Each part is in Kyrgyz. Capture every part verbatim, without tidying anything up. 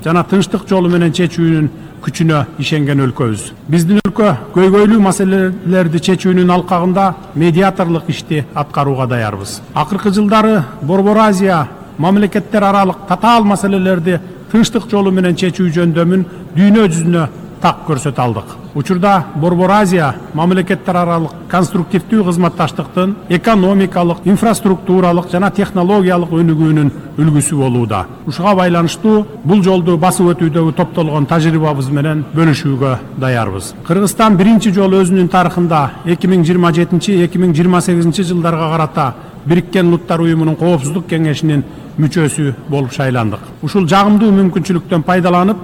жана тынчтык жолу менен чечүүнүн күчүнө ишенген өлкөбүз. Биздин өлкө көйгөйлүү маселелерди чечүүнүн алкагында медиаторлук ишти аткарууга даярбыз. Акыркы жылдары Борбор Азия мамлекеттер аралык татаал маселелерди тынчтык жолу менен чечүү жөндөмүн дүйнө жүзүнө так көрсөтө алдык. Учурда Борбор Азия мамлекеттер аралык конструктивдүү кызматташтыктын экономикалык, инфраструктуралык жана технологиялык өнүгүүнүн үлгүсү болууда. Ушуга байланыштуу бул жолду басып өтүүдөгү топтолгон тажрыйбабыз менен бөлүшүүгө даярбыз. Кыргызстан биринчи жолу өзүнүн тарыхында эки миң жыйырма жетинчи эки миң жыйырма сегизинчи жылдарга карата Бириккен Улуттар уюмунун Коопсуздук кеңешинин мүчөсү болуп шайландык. Ушул жагымдуу мүмкүнчүлүктөн пайдаланып,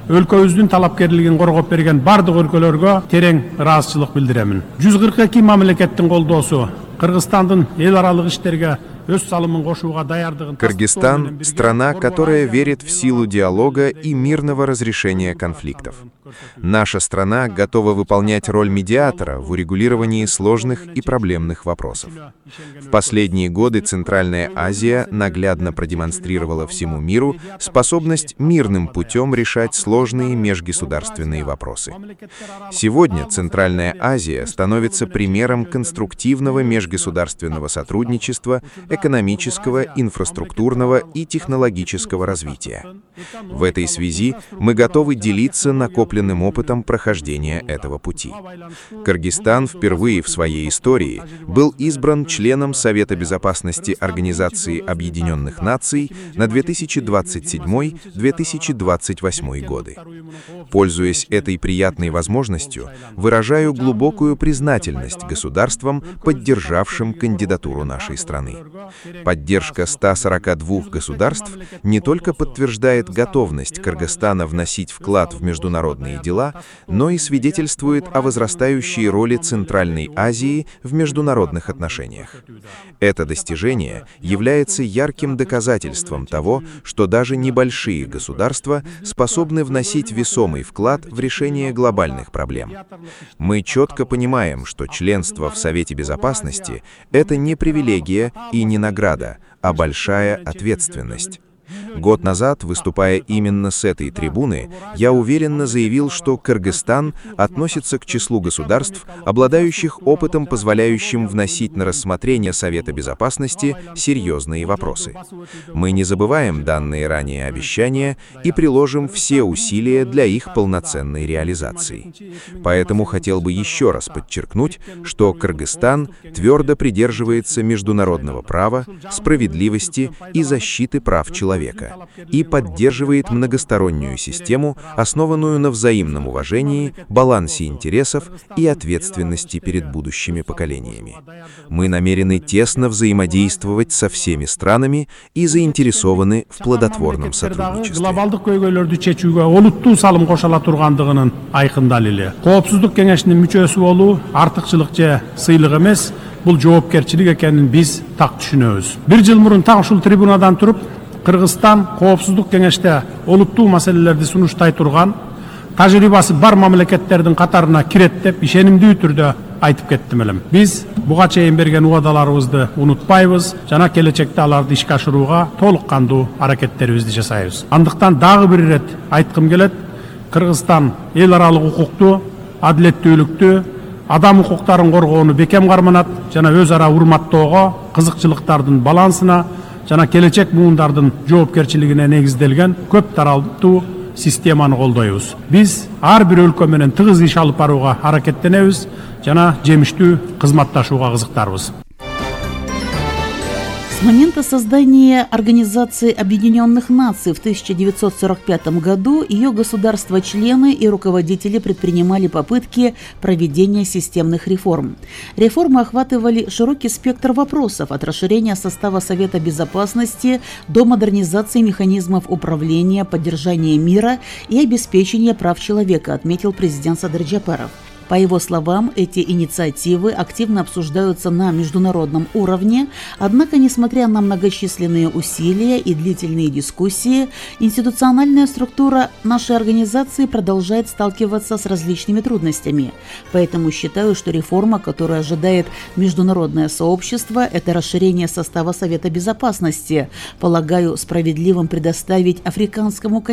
өлкөбүздүн талапкерлигин коргоп берген бардык өлкөлөргө терең ыраазычылык билдиремин. жүз кырк эки мамлекеттин колдоосу Кыргызстандын эл аралык иштерге өз салымын кошууга даярдыгын. Кыргызстан – страна, которая верит в силу диалога и мирного разрешения конфликтов. Наша страна готова выполнять роль медиатора в урегулировании сложных и проблемных вопросов. В последние годы Центральная Азия наглядно продемонстрировала всему миру способность мирным путем решать сложные межгосударственные вопросы. Сегодня Центральная Азия становится примером конструктивного межгосударственного сотрудничества, экономического, инфраструктурного и технологического развития. В этой связи мы готовы делиться накопленным опытом прохождения этого пути. Кыргызстан впервые в своей истории был избран членом Совета Безопасности Организации Объединенных Наций на две тысячи двадцать седьмой — две тысячи двадцать восьмой годы. Пользуясь этой приятной возможностью, выражаю глубокую признательность государствам, поддержавшим кандидатуру нашей страны. Поддержка ста сорока двух государств не только подтверждает готовность Кыргызстана вносить вклад в международные дела, но и свидетельствует о возрастающей роли Центральной Азии в международных отношениях. Это достижение является ярким доказательством того, что даже небольшие государства способны вносить весомый вклад в решение глобальных проблем. Мы четко понимаем, что членство в Совете Безопасности – это не привилегия и не награда, а большая ответственность. Год назад, выступая именно с этой трибуны, я уверенно заявил, что Кыргызстан относится к числу государств, обладающих опытом, позволяющим вносить на рассмотрение Совета Безопасности серьезные вопросы. Мы не забываем данные ранее обещания и приложим все усилия для их полноценной реализации. Поэтому хотел бы еще раз подчеркнуть, что Кыргызстан твердо придерживается международного права, справедливости и защиты прав человека и поддерживает многостороннюю систему, основанную на взаимном уважении, балансе интересов и ответственности перед будущими поколениями. Мы намерены тесно взаимодействовать со всеми странами и заинтересованы в плодотворном сотрудничестве. Глобалдык көйгөйлөрдү чечүүгө олуттуу салым кошула тургандыгынын айкын далили. Коопсуздук кеңешинин мүчөсү болуу артыкчылык же сыйлык эмес, бул жоопкерчилик экенин биз так түшүнөбүз. Бир жыл мурун так ушул трибунадан туруп, Кыргызстан Коопсуздук кеңеште олуттуу маселелерди сунуштай турган, тажрыйбасы бар мамлекеттердин катарына кирет деп ишенимдүү түрдө айтып кеттим элем. Биз буга чейин берген убадаларыбызды унутпайбыз жана келечекте аларды ишке ашырууга толук кандуу аракеттерибизди жасайбыз. Андыктан дагы бир ирет айткым келет, Кыргызстан эл аралык укукту, адилеттүүлүктү, адам укуктарын коргоону бекем карманат жана өз ара урматтоого, кызыкчылыктардын балансына жана келечек муундардын жоопкерчилигине негизделген көп таралдуу системаны колдойбуз. Биз ар бир өлкө менен тыгыз иш алып барууга аракеттенебиз жана жемиштүү кызматташууга кызыктарбыз. С момента создания Организации Объединенных Наций в тысяча девятьсот сорок пятом году ее государства-члены и руководители предпринимали попытки проведения системных реформ. Реформы охватывали широкий спектр вопросов, от расширения состава Совета Безопасности до модернизации механизмов управления, поддержания мира и обеспечения прав человека, отметил президент Садыр Джапаров. По его словам, эти инициативы активно обсуждаются на международном уровне, однако, несмотря на многочисленные усилия и длительные дискуссии, институциональная структура нашей организации продолжает сталкиваться с различными трудностями. Поэтому считаю, что реформа, которую ожидает международное сообщество, это расширение состава Совета Безопасности. Полагаю, справедливым предоставить африканскому